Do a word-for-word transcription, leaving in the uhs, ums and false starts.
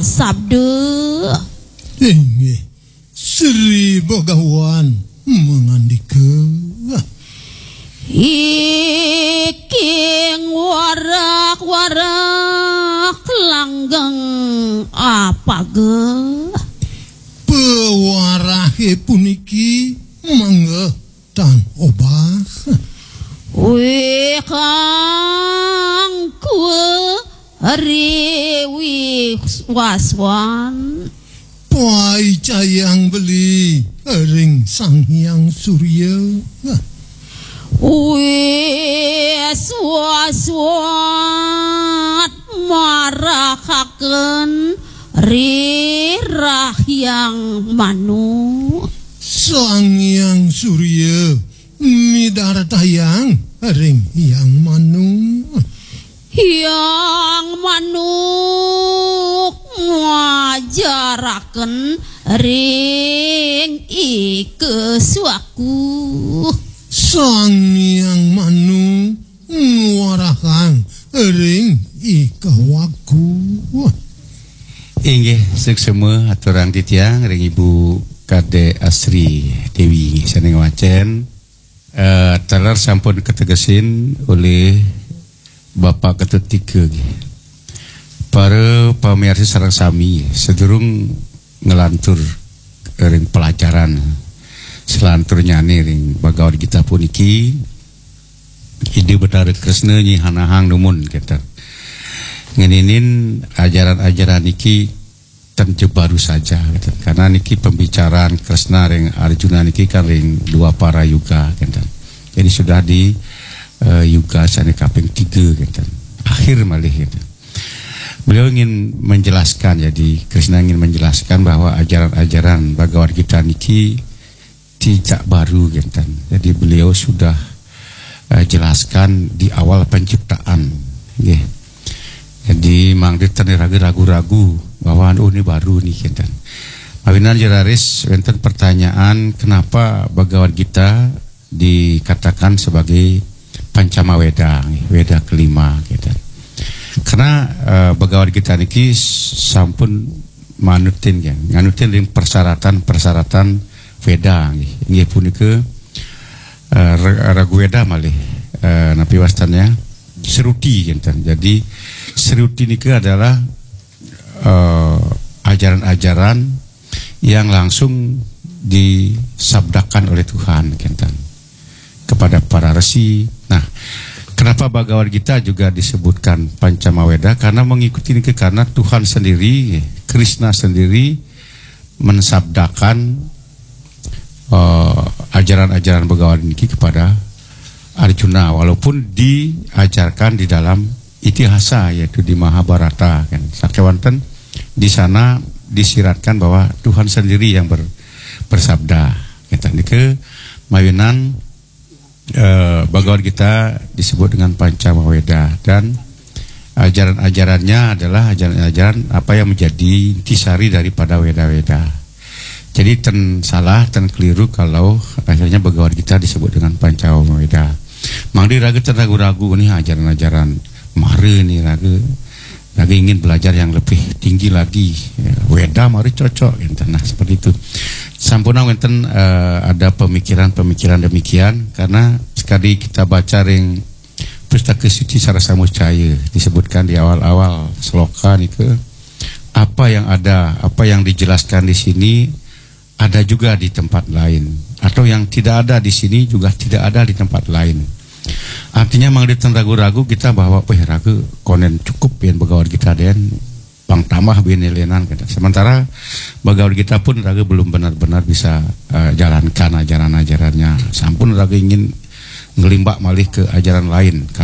sabda. Inggih, Sri Bagawan mangandika. Iking warak-warak langgeng apaga. Pewarahé puniki mangga tan obah. Wih kang kue riwis waswan. Paicayang beli ring Sang Hyang Surya. Wis waswat marakaken ri rahyang manu. Sang Hyang Surya midartayang ring Hyang Manu. Hyang Manuk ngajaraken ring Ika Swaku. Sang Hyang Manu ngwarahang ring Ika Waku. Inggih, suksma aturang titiang ring Ibu Kadek Asri Dewi, inggih, sané ngwacén. Eh, taler sampun kategesin olih Bapak Ketut Tika, nggih. Para pamiarsa sareng sami, sadurung nglantur ring pelajaran salanturnyané ring Bhagavad Gita puniki, Ida Betara Kresna nyihanahang dumun, kénten. Ngeninin ajaran-ajaran niki ten ja baru saja, kénten. Karena niki pembicaraan Kresna ring Arjuna niki kan ring Dwapara Yuga, kénten. Jadi sudah di, eh, Yuga sané kaping tiga, kénten. Akhir malih, kénten. Beliau ingin menjelaskan, jadi Kresna ingin menjelaskan bahwa ajaran-ajaran Bhagavad Gita niki tidak baru, kénten. Jadi beliau sudah, eh, jelaskan di awal penciptaan, nggih. Jadi mangda ten ragu-ragu bahwa, "Oh, ini baru nih," kénten. Mawinan ja raris wénten pertanyaan, kenapa Bhagavad Gita dikatakan sebagai Pancama Weda, nggih, Weda kelima, kénten. Karena, eh, Bhagavad Gita niki sampun manutin, ya, nganutin ring persyaratan-persyaratan Weda, nggih. Inggih punika, eh, Ra-, Ragu Weda malih, eh, napi wastannya? Sruti, kénten. Jadi, Sruti nika adalah, eh, ajaran-ajaran yang langsung disabdakan oleh Tuhan, kénten, kepada para resi. Nah, kenapa Bhagavad Gita juga disebutkan Pancama Weda? Karena mengikuti niki, karena Tuhan sendiri, Krishna sendiri mensabdakan, eh, ajaran-ajaran Bhagavad niki kepada Arjuna, walaupun diajarkan di dalam itihasa, yaitu di Mahabharata, kan. Sakéwanten di sana disiratkan bahwa Tuhan sendiri yang ber-, bersabda. Kita niki mawinan, eh, Bhagavad Gita disebut dengan Pancama Weda, dan ajaran-ajarannya adalah ajaran-ajaran apa yang menjadi intisari daripada Weda-Weda. Jadi ten salah, ten keliru kalau akhirnya Bhagavad Gita disebut dengan Pancama Weda. Mangda raga ten ragu-ragu nih ajaran-ajaran Mara nih, raga, raga ingin belajar yang lebih tinggi lagi. Ya, Weda Mara cocok, gitu. Nah, seperti itu. Sampunang wénten, eh, ada pemikiran-pemikiran demikian, karena sekali kita baca ring Pustaka Suci Sarasamuccaya, disebutkan di awal-awal sloka nika, apa yang ada, apa yang dijelaskan di sini ada juga di tempat lain, atau yang tidak ada di sini juga tidak ada di tempat lain. Artinya, mangda ten ragu-ragu kita bahwa, "Wéh, raga konden cukup yén Bhagavad Gita dén, pang tambah buin lénan," gitu. Sementara Bhagavad Gita pun raga belum benar-benar bisa, eh, jalankan ajaran-ajarannya. Sampun raga ingin nglimbak malih ke ajaran lain.